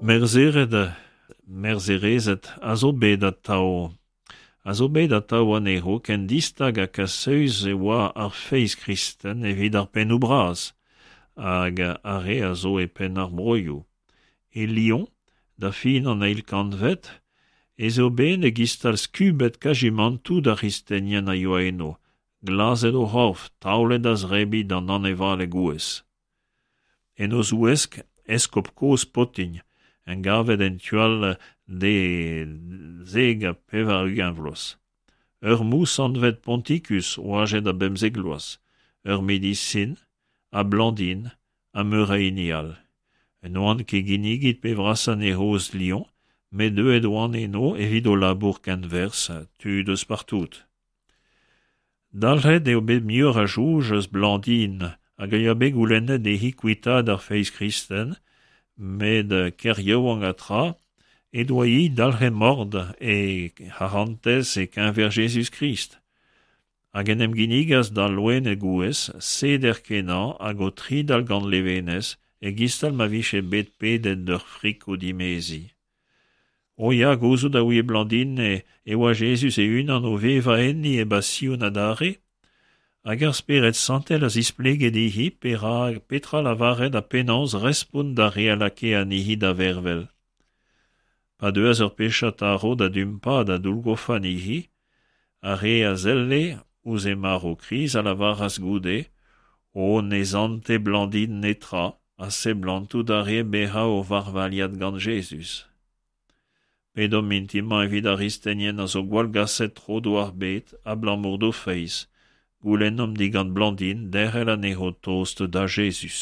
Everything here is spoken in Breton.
Merzhered, merzherezed a zo bet atav a zo bet atav anezho ken distag ha kasaus e oa ar feiz kristen evit ar pennoù bras hag ar re a zo e penn ar broioù. E Lyon, da fin an eil kantved, ez eo bet e-giz-tal skubet kajimantoù d'ar c'hristenien a yoa eno, glazet o c'horf, taolet da zebriñ d'an anevaled gouez. En o zouesk, eskob kozh Potign, engavet en tu all d'e 90 vloaz. Ur mous anvet Ponticus, oajet a bemzek vloaz, ur medisin, ha Blandine, ha meur a hini all. N'oant ket ginniget pe vrasañ anezho eus Lyon, met deuet oant eno evit o labour kenwerzh, tud eus partout. Dalc'het eo bet muioc'h a soñj eus Blandine hag a yoa bet goulennet dezhi kuitaat ar feiz kristen, met ker yaouank ha tra he doa-hi dalc'het mort he c'harantez e-keñver Jezuz-Krist. Hag en em ginnigas d'al loened gouez, seder-kenañ hag o tridal gant levenez, e-giz-tal ma vije bet pedet d'ur friko-dimeziñ. O ya, gouzout a ouie Blandine e oa Jezuz e-unan o vevañ enni e basion adarre, hag ar Spered Santel a zisplege dezhi perak, petra lavaret ha penaos respont d'ar re a lakae anezhi da vervel. Pa deuas ur pechad tarv da dumpañ da doullgofañ anezhi, ar re a selle ouzh he marv kriz a lavaras goude O ne sante Blandine netra, ha seblantout a rae bezañ o varvailhat gant Jezuz. Pedomp mintin-mañ evit ar gristenien a zo gwallgaset tro-dro ar bed abalamour d'o feiz. Goulennomp digant Blandine derc'hel anezho tost da Jezuz.